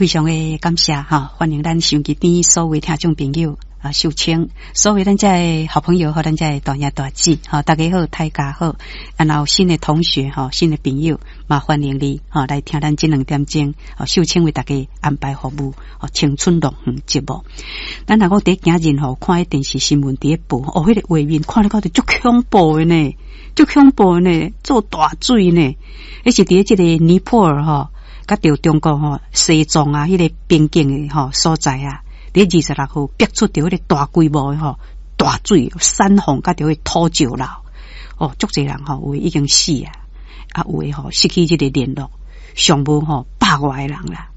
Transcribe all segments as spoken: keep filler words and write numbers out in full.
非常的感謝哈，歡迎咱收音機邊所有聽眾朋友啊，秀清，所有咱遮的好朋友和咱遮的大兄大姊，吼，大家好，大家好，啊，若有新的同學吼，新的朋友，嘛歡迎你吼來聽咱這兩點鐘，吼，秀清為大家安排服務，吼，青春樂園節目。咱若講佇今日吼，看彼電視新聞佇咧報，哦，彼個畫面看咧看著足恐怖的呢，足恐怖的呢，做大水呢，彼是佇咧這個尼泊爾吼，佮著中國吼西藏啊，彼個邊境的吼所在啊。佇二十六號逼出著彼個大規模的吼大水山洪，佮著彼土石流，哦，足濟人吼有的已經死啊，啊有的吼失去這個聯絡，上無吼百外个人啦。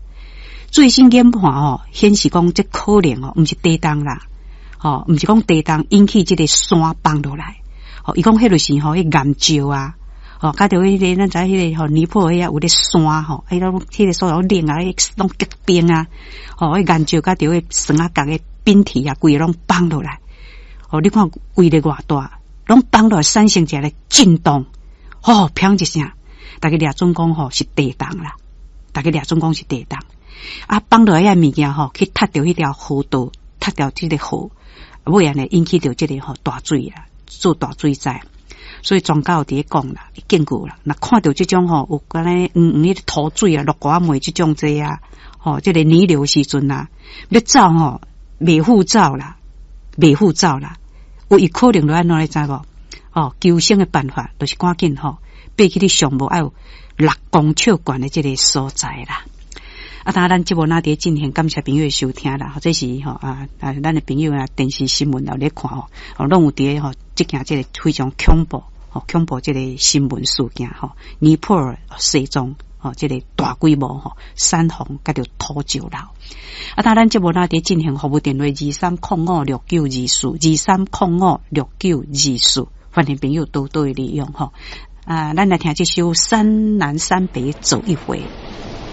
最新研判吼顯示講，這可能吼毋是地動啦，吼毋是講地動引起這個山崩落來，吼伊講彼就是吼彼岩石啊。吼，佮著彼個咱知彼個吼尼泊爾遐有咧山吼，彼種彼個所在冷啊，攏結冰啊，吼，彼岩石佮著彼山仔角的冰體啊，規个攏崩落來。吼，你看規个偌大，攏崩落來產生一個震動，吼，砰一聲，逐家掠準講吼是地動啦，逐家掠準講是地動。啊，崩落來遐物件吼，去踢著彼條河道，踢著這個河，尾仔呢引起著這個吼大水啊，做大水災。所以專家有佇咧講啦，警告啦，若看著這種吼有敢若黃黃彼土水啊，落寡糜這種這啊，吼，這個泥流時陣啊，欲走吼，袂赴走啦，袂赴走啦，有伊可能就按怎你知無？哦，求生的辦法就是趕緊吼，爬去你上無愛有六公尺懸的這個所在啦。啊，當然咱節目若佇進行，感謝朋友的收聽啦，或者是吼啊啊，咱的朋友啊，電視新聞有咧看吼，哦，攏有佇咧吼，這件這個非常恐怖。恐怖這個新聞事件吼，尼泊爾西藏吼，這個大規模吼山洪佮著土石流。啊，當咱節目若佇進行服務電話二三空五六九二四二三空五六九二四，歡迎朋友多多的利用吼。啊，咱來聽這首《山南山北走一回》。